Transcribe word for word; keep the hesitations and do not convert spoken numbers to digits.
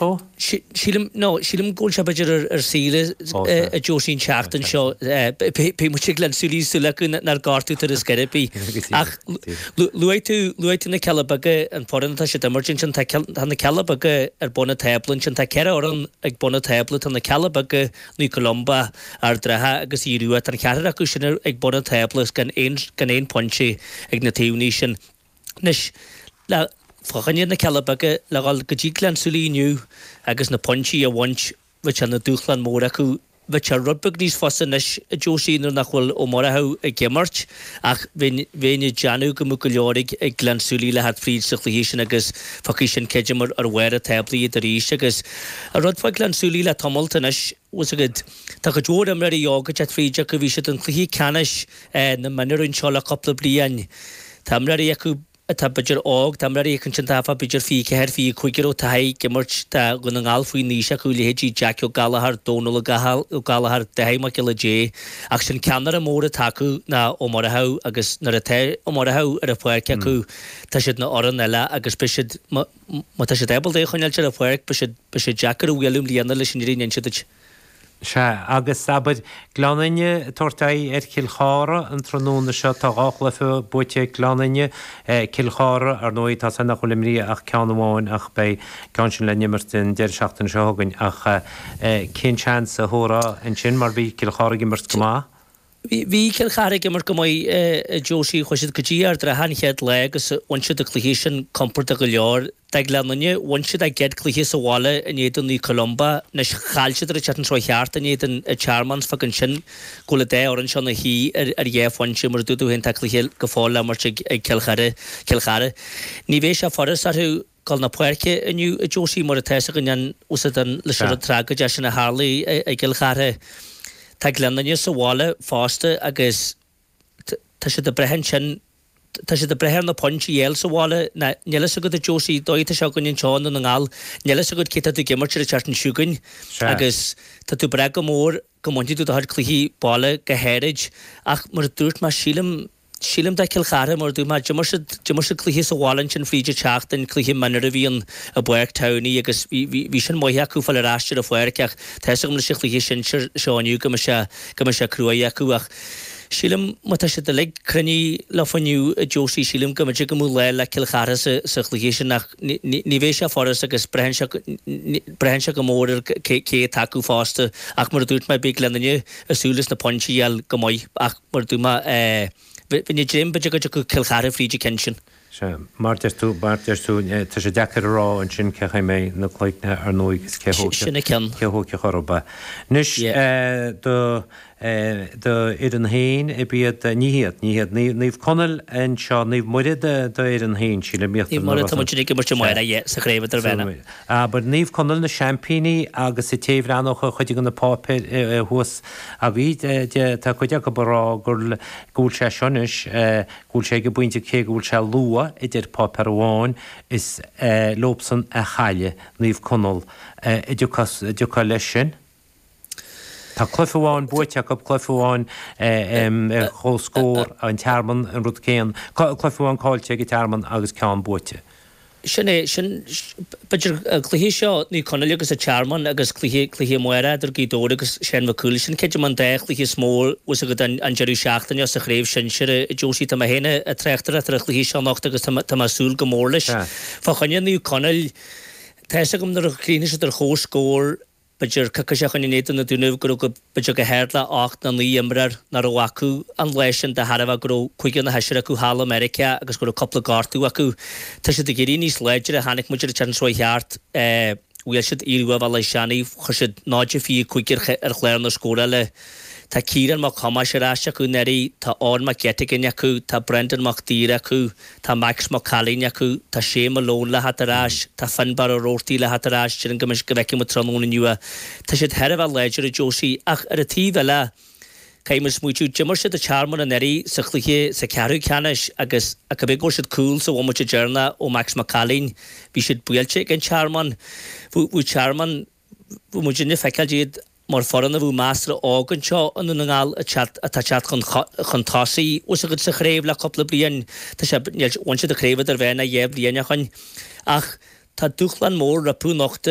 Ó? Sílim, no, sílim go bhfuil sé b'fhéidir ar, ar saoire a Josie an tseachtain seo. Beidh muid ag Gleann tSúilí súil acu nár gortú tar is ar bith. Ach luaigh tú, luaigh tú na Cealla Beaga, an foireann atá siad imirt ansin, tá, tá na Cealla Beaga ar bun an tábla ansin, tá ceithre fhoireann ag bun an tábla, tá na Cealla Beaga, Naomh Columba, Ard an Rátha agus Aodh Rua, tá an ceathrar acu sin ag bun an tábla gan aon, gan aon pointe ag na taobhanna sin. Anois, le fá choinne na Cealla Beaga le dhul go dtí Gleann tSúilí inniu agus na pointí a bhaint, bheadh sé ina dúshlán mór acu. Bheadh sé rud beag níos fusa anois, a Josie, nuair nach bhfuil Ó Murchú ag imirt, ach bheinn bheinn ag déanamh go mbeadh go leor ag ag Gleann tSúilí le theacht fríd sa chluiche sin agus fágfaidh sin creidim ar ar bharr an tábla iad arís. Agus an rud fá Gleann tSúilí le tamalt anois, bhfuil 's agat, tá cuid mhór imreoirí óga ag teacht fríd acu, bhí siad i gcluiche ceannais na mionúr anseo le cúpla bliain, tá imreoirí acu, atá b'fhéidir óg, tá imreoirí acu ansin atá b'fhéidir fiche ceathair, fiche cúig a raibh taithí ag imirt do Dhún na nGall faoin aois acu, leithéidí Jackie Ó Gallchóir, Dónal Ó Gallchóir, Dáithí Mac Giolla Dé. Ach sin ceannaire mór atá acu ná Ó Murchú agus nuair atá Ó Murchú ar an pháirc acu tá siad ina fhoireann eile agus beidh siad, má tá siad ábalta é a choinneáilt ar an pháirc beidh siad, beidh siad deacair a bhualadh i mbliana leis an fhírinne a inse duit. Sea, agus abair, Gleann Fhinne ag tabhairt aghaidh ar Chill Chartha an tráthnóna seo. Tá dhá chluiche buaite ag Gleann Fhinne. Cill Chartha, ar ndóigh, tá san nach bhfuil imrithe ach ceann amháin ach beidh ceann sin le n-imirt an deireadh seachtaine seo chugainn. Ach cén seans a thabharfá ansin mar bhí Cill Chartha ag imirt go maith? Bhí Cill Chartha ag imirt go maith, a Josie. Chuaigh siad go dtí Ard an Rátha an chéad lá agus bhain siad an cluiche sin compordach go leor. Do Ghleann Fhinne, bhain siad a gcéad cluiche sa bhaile in éadan Naomh Columba. Anois chaill siad ar an tseachtain seo thart in éadan an Tearmann. Fágann sin go bhfuil an dá fhoireann seo ina shuí ar ar dhá phointe. Mar a dúirt tú féin tá cluiche go fóill le imirt ag Cill Chartha. Cill Chartha. Ní bheidh sé furast orthu dul na páirce inniu, a Josie, mar atá 'fhios againn an úsáid an leis an rud tragóideach sin a tharlaigh i gCill Chartha. Tá Gleann Fhinne sa bhaile fosta agus tá siad ag brath ansin, tá siad ag brath ar na pointí a fháil sa bhaile. Níl fhios agat, a Josie, dóigh atá sé againn anseo i nDún na nGall, níl fhios agat cé tá tú ag imirt ar an tseachtain seo chugainn agus tá tú ag brath go mór go mbainfidh tú do chuid cluichí baile go háirid ach mar a dúirt mé, sílim, Sílim do Chill Chartha, mar a dúirt mé, d'imir siad, d'imir siad cluiche sa bhaile ansin fríd an tseachtain, cluiche mionúr a bhí ann i bPáirc Towney agus bhí, bhí, bhí sin maith acu fáil ar ais ar an pháirc ach tá fhios agam leis an chluiche sinsir seo inniu go mbeidh sé, go mbeidh sé cruaidh acu ach sílim má tá siad uilig cruinnithe leofa inniu a Josie, sílim go mb'fhéidir go mbeadh lá le Cill Chartha sa, sa chluiche sin ach ní, ní, ní bheidh sé furast agus braitheann sé, braitheann sé go mór ar cé, cé atá acu fosta ach mar a dúirt mé beidh Gleann Fhinne ag súil leis na pointí a fháil go maith ach mar a dúirt mé, eh. Bheinn ag dréim b'fhéidir go dtiocfadh Cill Chartha fríd an ceann sin. Sea, mar deir tú, mar deir tú, tá sé deacair a rá ansin cé chaoi mbeidh na cloigne ar ndóigh agus cé Sin an ceann. cé thógfadh orthu. Anois, do, do fhoireann féin, ab iad, ní hiad, ní hiad, Naomh Conaill anseo, Naomh Muire do, do fhoireann féin, sílim, Naomh Muire, tá muid ag imirt amárach, yeah, sa chraobh idirmheánach. Abair, Naomh Conaill na seaimpíní agus an té a bhreathnódh ar chuid de na páipéir thuas agaibh, tá cuid acu ag rá gur, go bhfuil sé seo anois, go bhfuil sé ag an bpointe cé go bhfuil sé luath, a deir páipéar amháin, is leobsan a chaillfidh Naomh Conaill. An dtiocfá leis sin? Tá cluiche amháin buaite acu, cluiche amháin ar comhscór, an Tearmann an rud céanna, cluiche amháin caillte ag an Tearmann agus ceann buaite. Sin é, sin, b'fhéidir, an cluiche seo, Naomh Conaill agus an Tearmann agus cluiche, cluiche amárach idir Gaoth Dobhair agus Seán Mac Cumhaill, sin creidim an dá chluiche is mó bhfuil 's agat an, an deireadh seachtaine sa chraobh shinsir, a Josie. Tá mé féin ag tráchtaireacht ar an chluiche seo anocht agus tá mé, tá mé ag súil go mór leis. Fá choinne Naomh Conaill, tá 'fhios agam nuair a chríochnaigh siad ar chomhscór, b'fhéidir coicís ó shoin in éadan na Dúnaibh go raibh go, b'fhéidir go hard le ocht nó naoi imreoir nach raibh acu an lá sin de thairbhe go raibh cúigear nó seisear acu thall i Meiriceá agus go raibh cúpla gortú acu. Tá siad ag éirí níos láidre, chonaic muid ar an tseachtain seo chuaigh thart, bhuail siad Aodh Rua Bhaile Átha Seanaidh, chuir siad náid a fiche cúig ar chlár na scórála. Tá Ciarán Mac Thomáis ar ais acu anuraidh, tá Eoin Mac Eiteagáin acu, tá Brendan Mac Daoir acu, tá Max Mac Cailín acu, tá Shane Malone le theacht ar ais, tá Finbarr Ó Roarty le theacht ar ais, déarfainn go mbeidh, go bhfeicfidh muid tráthnóna inniu é. Tá siad thar a bheith láidir, a Josie, ach ar an taobh eile, caithfidh muid smaoitiú, d'imir siad an Tearmann anuraidh sa chluiche sa cheathrú ceannais agus cibé go bhfuair siad cúl sa bhomaite deireanach ó Max Mac Cailín, bhí siad buailte ag an Tearmann. Bhí Tearmann, bhí muidinne ag feiceáil iad mar foireann a bheadh measartha óg anseo i nDún na nGall atá ag teacht chun tosaigh bhfuil 's agat sa chraobh le cúpla bliain. Tá sé, níl, bhain siad an chraobh idirmheánach dhá bhliain ó shoin. Ach Tá dúshlán mór rompu anocht.